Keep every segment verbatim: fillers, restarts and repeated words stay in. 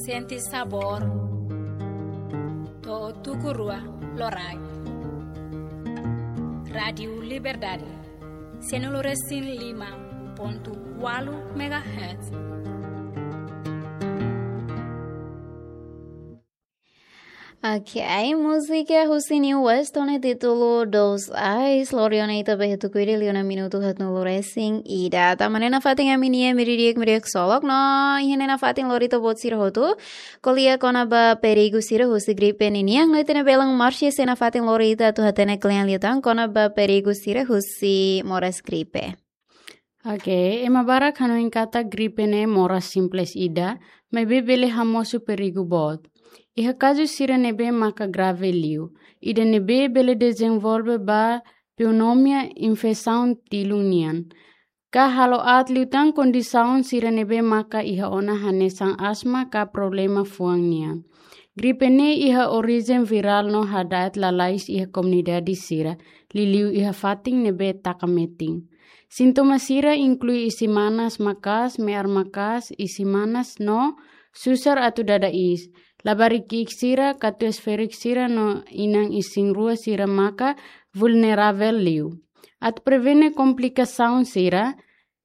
Sente sabór. To'o tuku rua loraik. Rádiu Liberdade. Sianulu resin lima pontu ualu megahertz. Ok, múzika husi New West ho nia títulu Dois Ais, lori ona ita ba iha tuku ida liu ona minutu haatnulu resin ida. Tanba ne'e nafatin ami-nia meiudia di'ak, meiudia di'ak ksolok no iha ne'e nafatin lori ita-boot sira hotu ko'alia kona-ba perigu sira husi gripe ninian, no ita-nia belun Marcia sei nafatin lori ita atu hatene kle'an liután kona-ba perigu sira husi moras gripe. Ok, ema barak hanoin katak gripe ne'e moras simples ida, maibé bele hamosu perigu boot. Iha kazu sira ne'ebé maka grave liu, ida ne'ebé bele dezenvolve ba pneumonia, infesaun tilun nian. Ka halo aat liután kondisaun sira ne'ebé maka iha ona hanesan asma ka problema fuan nian. Gripe ne'e iha orijen virál no hada'et lalais iha komunidade sira, liuliu iha fatin ne'ebé taka metin. Sintoma sira inklui isin manas maka'as, me'ar maka'as, isin manas no susar atu dada iis. Labarik ki'ik sira, katuas-ferik sira no inan isin-rua sira maka vulneravel liu. Atu prevene komplikasaun sira,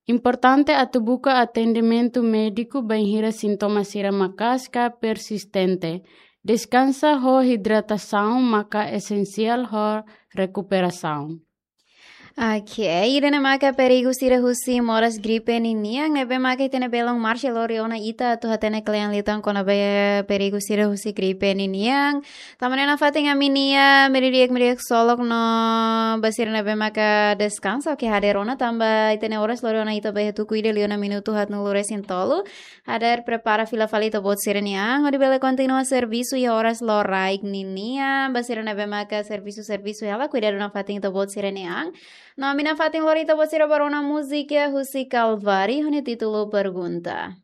importante atu buka atendimentu médiku bainhira sintoma sira maka'as ka persistente. Deskansa ho hidratasaun maka esensiál ho rekuperasaun. Ok, ida-ne'e maka perigu sira husi moras gripe ninian, ne'ebé maka ita-nia belun Marcia lori ona ita atu hatene kle'an liután kona-ba perigu sira husi gripe ninian. Tanba ne'e nafatin ami-nia meiudia di'ak, meiudia di'ak ksolok no ba sira ne'ebé maka deskansa, ok, hadeer ona tanba ita-nia oras lori ona ita ba iha tuku ida liu ona minutu haatnulu resin tolu. Hadeer prepara fila fali ita-boot sira-nia an, hodi bele kontinua servisu iha oras loraik ninian, ba sira ne'ebé maka servisu, servisu hela, kuidadu nafatin ita-boot sira-nia an. No ami nafatin lori ita-boot sira ba rona múzika husi Calvary, ho nia títulu Pergunta.